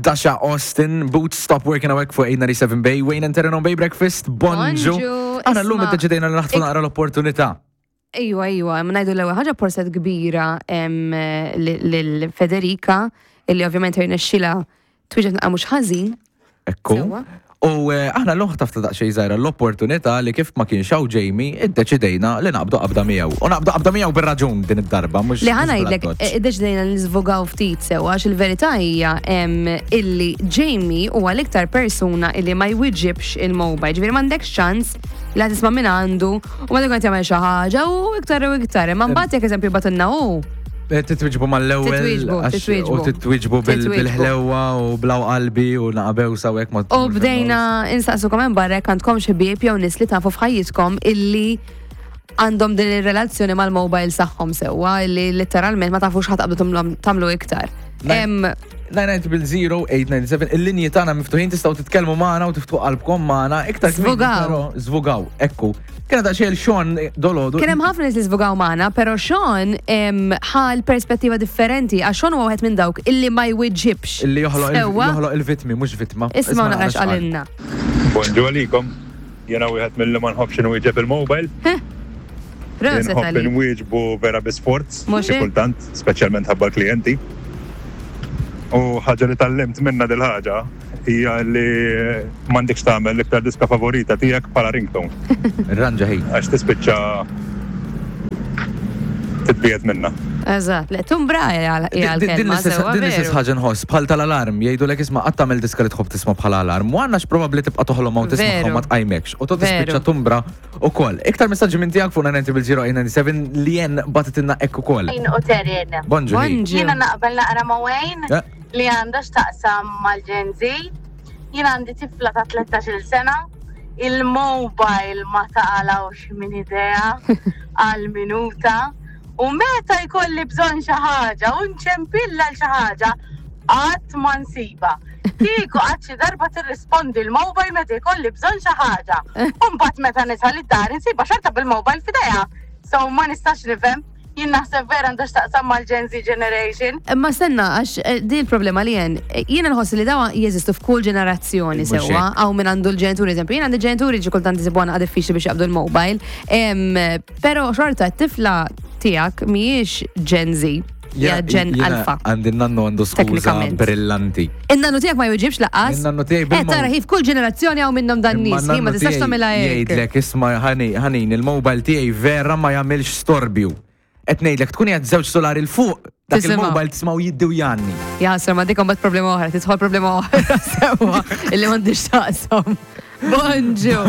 Dasha Austin, Boots Stop Working Awek fuq 897 Bay, Wayne and Terran on Bay Breakfast, bonġu. Bonġu, Aħna llum isma' iddeċidejna li naħtfu naqra l-opportunità. Ejwa, ejwa, ma ngħidu l-ewwel ħaġa porset kbira em, li- lil Federica, illi ovvjament irnexxilha twieġeb naqra mhux ħażin. Ekku. Sewwa. U eh, aħna l tafta daqsxejn żgħira l-opportunità li kif ma kienx hawn Jamie, iddeċidejna li naqbdu qabda miegħu. U naqbdu qabda miegħu bir-raġun din id-darba, mhux Li mhux ħa ngħidlek, bl-addoċċ. iddeċidejna li niżvogaw ftit sewwa għax il-verità hija em, illi Jamie huwa l-iktar persuna illi ma jwiġibx il-mobile. Ġifieri m'għandekx ċans li ħa tisma' minn għandu u ma tkun qed jagħmel xi ħaġa u iktar u iktar. Imma mbagħad jekk eżempju batilna hu. Eh, Titwiġbu mal-ewwel. Titwieġbu, għax- titwieġbu. U titwiġbu bil- Titwieġbu. bil-ħlewwa u blaw qalbi u naqabew sawek ma. U bdejna insaqsukom hemm barra jekk għandkom xi ħbieb jew nies li tafu f'ħajjitkom illi għandhom din ir-relazzjoni mal-mobile tagħhom sewwa illi letteralment ma tafux ħa taqbdu tagħmlu iktar. Em, 990-897 il-linji tagħna miftuħin tistgħu titkellmu magħna u tiftħu qalbkom magħna iktar kmieni, Żvugaw. però Żvugaw, ekku. Kena daqsxejn Sean dolodu. Kien hemm ħafna nies li żvugaw magħna, però Sean em, ħa l-perspettiva differenti għax Sean huwa wieħed minn dawk illi ma jwiġġibx. Illi joħloq il- Sewwa, joħloq il-vitmi, mhux vitma. Isma' naqra x'qalilna. Bonġu għalikom. Jena wieħed mill-li ma nħobbx inwieġeb il-mobile. Proset Nħobb għalik. inwieġbu vera bi sforz, Mhux xi hekk? kultant, speċjalment ħabba l-klijenti. U ħaġa li tgħallimt minna dil-ħaġa hija li m'għandekx tagħmel l-iktar diska favorita tiegħek bħala ringtone Ranġa ħin. għax tispiċċa titbiegħed minna. Eżatt, le tumbra hija Din l-kelma l-istess sewwa din l-istess veru. ħaġa nħoss bħal tal-alarm jgħidulek isma' qatt tagħmel diska li tħobb tisma' bħala alarm. U għandna probabbli tibqa' toħlom u tisma' Veru. ma tqajmekx. U to tispiċċa Veru. tumbra ukoll. Iktar messaġġi minn tiegħek fuq 990 li jen bagħtitilna hekk ukoll. Wayne u Terin. Bonġu. ħin. Bonġu. Jiena naqbel naqra ma' Wayne Eh. li għandha x'taqsam mal-Gen Z. Jiena għandi tifla ta' 13 sena, il-mobile ma taqalawx minn idea għal minuta u meta jkolli bżonn xi ħaġa u nċempilla l xi ħaġa qatt ma nsiba. Kieku qatt xi darba tirrispondi l-mobile meta jkolli bżonn xi ħaġa. U mbagħad meta nisal id-dar insiba xorta bil-mobile f'idejha. So ma nistax nifhem. Jien naħseb vera għandha x'taqsam mal-Gen Z generation. Imma stenna, għax din il-problema li jen, jiena nħoss li dawa jeżistu f'kull ġenerazzjoni Mhux sewwa, hekk. għaw minn għandu l-ġenituri, eżempju, jien għandi ġenituri ġi kultant isibu għana diffiċli biex jaqbdu l-mobile, Pero xorta t-tifla tiegħek mhijiex Gen Z, hija Gen Jiena Alpha. Għandi n-nannu għandu skuża Teknikament. brillanti. In-nannu tiegħek ma jweġibx lanqas. In-nannu tiegħi Eh, bil-mo- tara ħif kull ġenerazzjoni hawn minnhom dan Imma nies, hi ma n-nannu tistax tiegħi tagħmilha hekk. Jgħidlek isma' ħani ħanin il-mobile tiegħi vera ma jagħmilx storbju. Qed ngħidlek tkun qiegħed żewġ solari 'l fuq dak Tisimgħu. il-mobile tismgħu jiddi u jgħanni. Jaħasra ma dik imbagħad problema oħra, tidħol problema oħra sewwa illi m'għandix taqsam. Bonġu.